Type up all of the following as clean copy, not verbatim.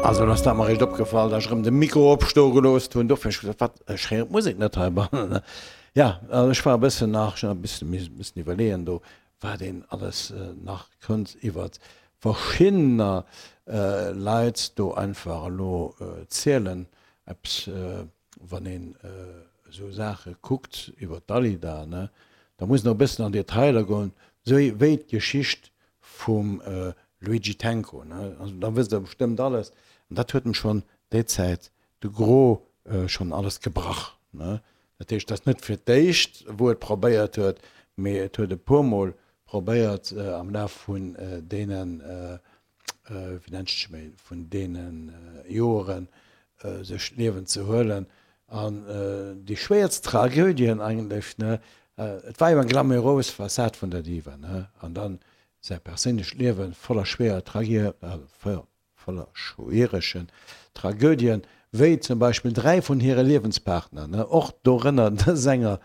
Also et ass dat mer eréischt opgefall, dat ech erëm de Mikro opstoe gelooss hunn. Dofir hunn ech gesot, wat, ech héieren d'Musek net heibannen. Jo, also ech war e bëssen nach, ech hunn e bëssen missen iwwerleeën do, wat een alles nach kënnt iwwert verschiddener Leit do einfach elo zielen. Eppes, wann een esou Saache kuckt iwwert d'Alida, ne, da muss een och e bëssen an Detailer goen, esou wéi d'Geschicht vum Luigi Tenco, ne, also da wësst der bestëmmt alles, an dat huet em schonn déi Zäit de Gros schonn alles gebrach, ne. Dat heescht, et ass net fir d'éischt wou et probéiert huet, mee et huet e puermol probéiert am Laf vun deenen, wéi nennt sech méi, vun deene Joeren sech d'Liewen ze huelen. An déi schwéierst Tragödien eigentlech, ne, et war jo eng glamourös Fassad vun der Diva, ne, an dann säi perséinlecht Liewe voller schwéier Tragé, voller schwieregen Tragödien, wéi zum Beispill 3 vun hire Liewenspartner, ne, och dorënner de Sänger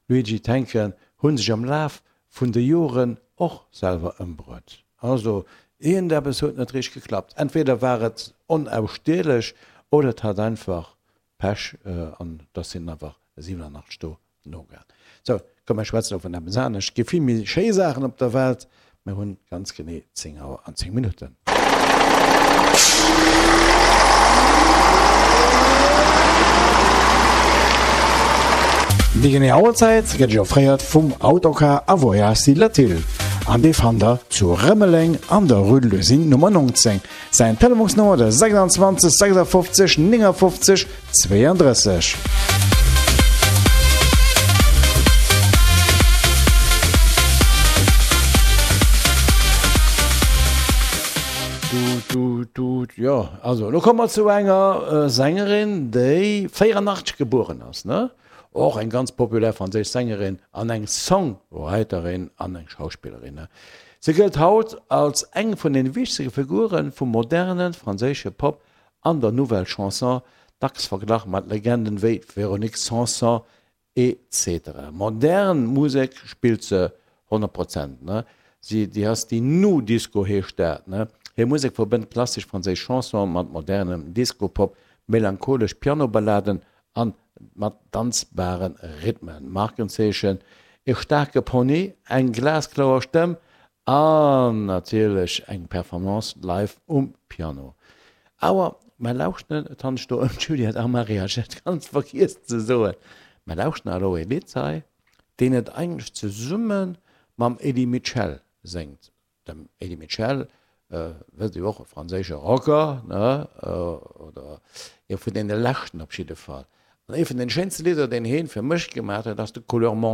Luigi Tenco, hu sech am Laf vun de Joren och selwer ëmbruet. Also iergendeppes huet net richteg geklappt. Entweder war et onaussteelech oder et hat einfach Pech an dass sinn einfach 87 do nogaang. Sou, komm mer schwätzen elo vun eppes anescht. Et gi vill méi schéi Saachen op der Welt. Mer hunn ganz genee 10 Auer an 10 Minutten. Déi genee Auerzäit gëtt Iech offréiert vum Autocar a Voyage Latil an dee fannt der zu Rëmeleng an der Rue de l'Usine Nummer 19. Säin Telefonsnummer de 26 56 59 32. Jo, also elo komme mer zu enger Sängerin, déi 84 gebueren ass, ne? Och eng ganz populär franséisch Sängerin an eng Songwriterin an eng Schauspillerin. Si gëllt haut als eng vun den wichtege Figure vum moderne franséische Pop an der Nouvelle Chanson, dacks verglach mat Legenden wéi Véronique Sanson etc. Modern Musek spillt se 100 Prozent, ne? Si, déi ass déi Nu Disco heescht dat, ne? Hir Musek verbënnt klassesch franséisch Chanson mat modernem Disco-Pop, melancholesch Pianoballaden an mat danzbare Rhythmen. Markenzeechen, e staarke Pony, eng glaskloer Stëmm an natierlech eng Performance live um Piano. Awer mer lauschteren, et handelt sech do ëm d'Juliette Armaret, ech hat ganz vergiess ze soen, mer lauschteren elo e Lidd hei, deen et eigentlech zesumme mam Eddie Mitchell séngt. Dem Eddie Mitchell, wësst Dir och, e franséische Rocker, ne, oder ee vun deene leschten op jidde Fall. An ee vun den schéinste Lidder, deen heen fir mech gemaat huet, ass de Couleur.